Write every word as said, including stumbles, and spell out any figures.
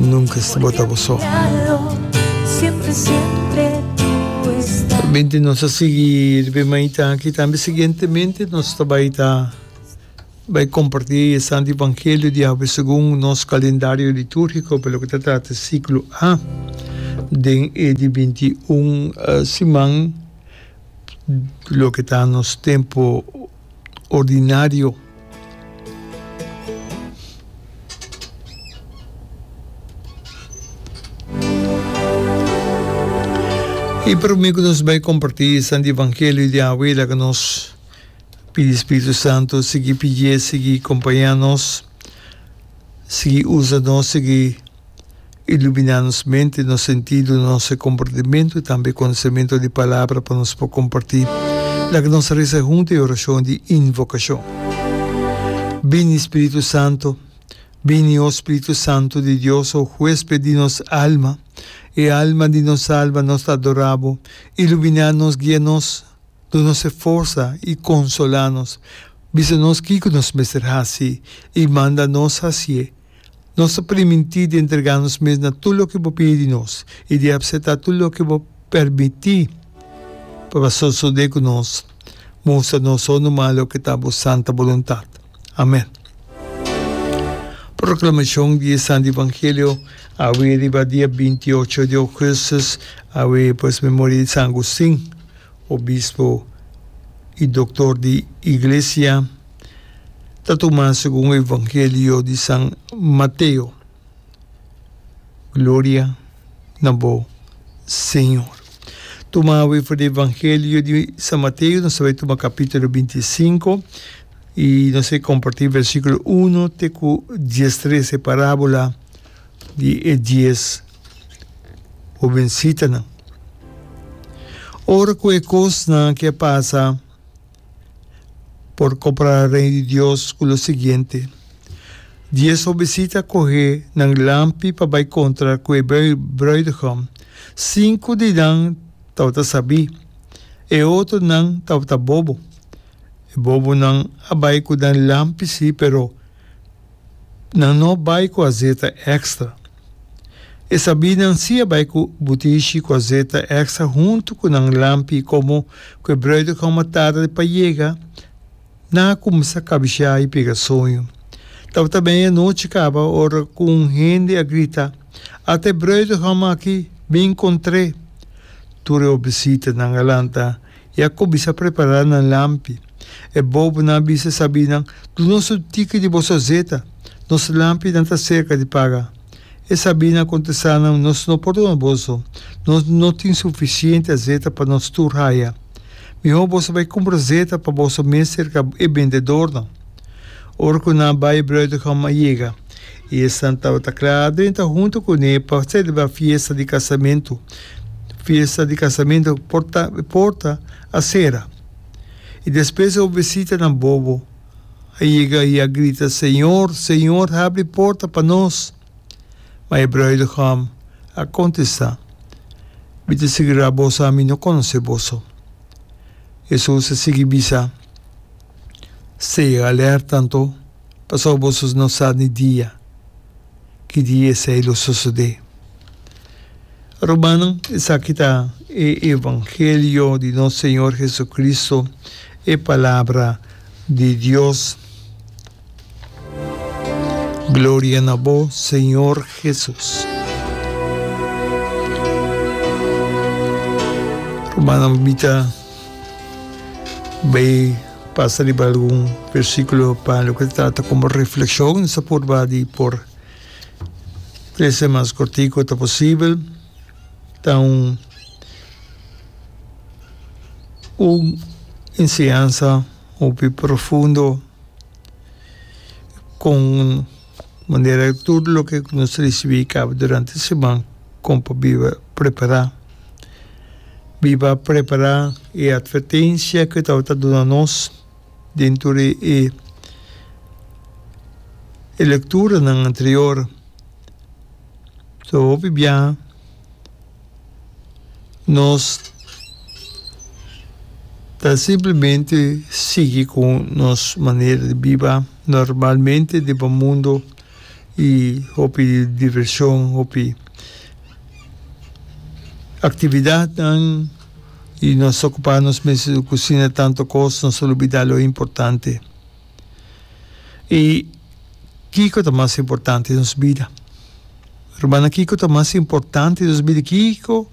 Nunka bo ta bo so. Binti nos a sigui riba e mainta aki tambe siguientemente nos ta bai ta bai kompartí e Santo Evangelio di awe segun nos kalendario litúrgiko pa loke ta trata siklo A den e di binti un siman loke ta nos tempu ordinario. I promé ku nos bai kompartí e Santo Evangelio di awe, laga nos pidi Spiritu Santu sigui pidié, sigui kompañá nos, sigui usa nos, sigui Iluminá nos mente, nos sentido, nos komportamentu i tambe konosementu di Palabra pa nos por kompartí. Laga nos resa huntu e orashon di invokashon. Bini, Spiritu Santu, bini, o Spiritu Santu di Dios, o huésped di nos alma, e alma di nos alma, nos ta adorá bo. Iluminá nos, guia nos, duna nos e forsa i konsolá nos. Bisa nos kiko nos mester hasi i manda nos hasié. Nos ta primintí di entregá nos mes na tur loke bo pidi di nos i di apseptá tur loke bo permití pa sosodé ku nos. Mustra nos so numa loke ta bo santa boluntat. Amèn. Proklamashon di e Santu Evangelio awe riba dia binti i ocho di ougùstùs, awe pues memoria di San Agustin, obispo i doktor di Iglesia. Ta tuma segun Evangelio di San Mateo. Gloria na bo, Señor. Tuma awe for di Evangelio di San Mateo, nos ta bai tuma capítulo binti i sinku i nos ta comparti versiculo uno te cu diestres, e parabola di e dies hobencitanan. Ora cu e cosnan aki a pasa, Por kompará Reino di Dios ku lo siguiente, Dies hobesita a kohe nan lampi pa bai kontra ku e brùidegòm. Sinku di nan tabata sabí, e otronan tabata bobo. E bobonan a bai ku nan lampi sí, pero Nan no bai ku azeta èkstra. E sabínan sí a bai ku butishi ku azeta èkstra huntu ku nan lampi i komo ku e brùidegòm a tarda pa yega, nan a kuminsá kabishá i pega soño. Tabata meianochi kaba ora ku un hende a grita, Ata e brùidegòm aki! Bin kontr'é! Tur e obisitanan a lanta i a kuminsá prepará nan lampi. E bobonan a bisa e sabínan, Duna nos un tiki di boso azeta, nos lampinan ta serka di paga. E sabínan a kontestá nan, Nos no por duna boso, nos no tin sufisiente azeta pa nos tur haya. Mihó boso bai kumpra azeta pa boso mes serka e bendedornan. Ora ku nan a bai, e bruidegom a yega, i esnan tabata kla a drenta huntu kuné pa selebrá fiesta di kasamentu. Fiesta di kasamentu porta porta a sera. I despues e obesitanan bobo a yega i a grita, Señor, Señor, habri porta pa nos! Ma e bruidegom a kontestá, Mi ta sigurá boso, ami no konosé boso. Hesus a sigui bisa, Sea alerta anto, pasobra boso no sa ni dia ki dia esei lo sosodé. Rumannan, esaki ta e evangelio di nos Señor Jesucristo, e Palabra di Dios. Gloria na bo, Señor Jesus. Rumannan, mi ta bay pasa riba algun versiculo pa loke ta trata como reflexion. Nos ta purba di por trece mas cortico ta posibel. Ta un un enseñansa hopi profundo con manera tur loke nos ricibi caba durante siman con pa biba prepara. Biba prepara e advertencia cu e tabata duna nos den tur e e lecturanan anterior. So hopi biaha nos ta simplemente sigui cu nos manera di biba normalmente den bo mundo I hopi divershon, hopi aktividatnan i nos okupá nos mes ku asina tantu kos, nos lubidá lo importante. I kiko ta mas importante den nos bida? Ruman, kiko ta mas importante den nos bida? Kiko